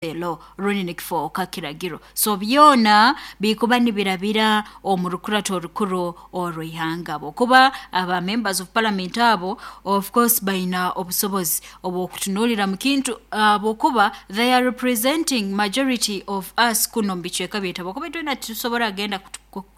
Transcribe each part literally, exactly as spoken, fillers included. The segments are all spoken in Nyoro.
Law rundi nikifooka kiragiro. So byona bikuba nibirabira omu rukurato orukuru orw'ihanga, habwokuba aba members of parliament abo of course baina obusobozi obw'okutunuulira mu kintu, habwokuba they are representing majority of us kunu omu bicweka byaitu, habwokuba itwena titusobora kugenda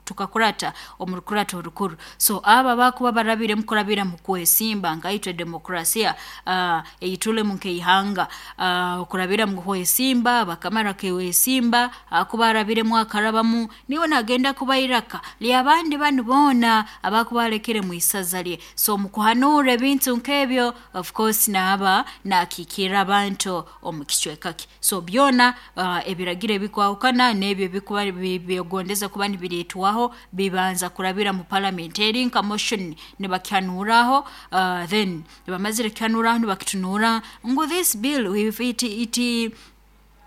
tukakurata omu rukurato orukuru. So abo abakuba barabiremu kurabira mu kwesimba, nkaitwe demokrasiya uh, eitulemu nk'ihanga, uh, kurabira mu kwesimba, bakamara kwesimba, akuba arabiremu akarabamu, niwe nagenda kuba iraka ly'abandi banu boona abakuba alekere mu isaza lye. So mu kuhanuura ebintu nk'ebyo, of course naaba nakiikirra abantu omu kicweka kye. So byona uh, ebiragiro ebikwahukana n'ebyo ebikuba byegondeza kuba nibireetwaho bibanza kurabira mu parliament, eri nka motion nibakihanuuraho, uh, then bamazire kukihanuuraho nibakitunuura ngu this bill if it, it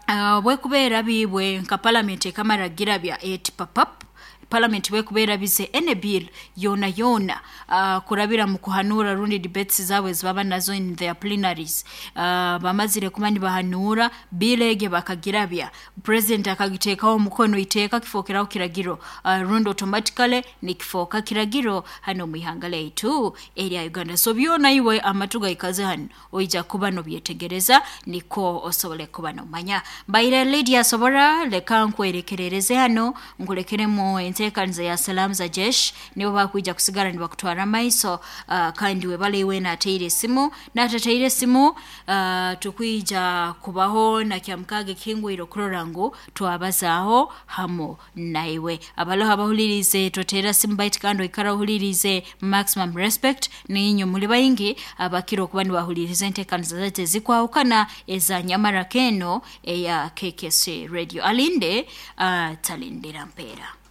uh, bwekubeera biibwe nka parliament ekamara girabya eti papap, parliament bwekubeera bize any bill yoona yoona uh, kurabira mu kuhanuura rundi debates zaabwe ezibaba nazo in their plenaries, uh, bamazire kuba nibahanuura bill egi bakagirabya, president akagiteekaho omukono, iteeka kifookeraho kiragiro, uh, rundi automatically nikifooka kiragiro hano mu ihanga lyaitu erya Uganda. So byona iwe amatu gaikaze hano oija kuba nobyetegereza niko osobole kuba nomanya. Mbaire Lydia Sobora, leka nkwerekerereze hano nkulekeremu enteekaniza ya Salamu za Jesh, nibo bakwija kusigara nibakutwara amaiso, uh, kandi webale iwe nateire esimu natateire esimu, uh, tukwija kubaho na kyamukaaga ekihingwire okurora ngu twabazaaho hamu naiwe. Abaloho abahuliriize toteera simu, baitu kandi oikara ohuliriize maximum respect, niinywe muli baingi abakira okuba nibahuliriza enteekaniza zaitu ezikwahukana eza nyamara keno eya K K C Radio. Alinde uh, talindira mpeera.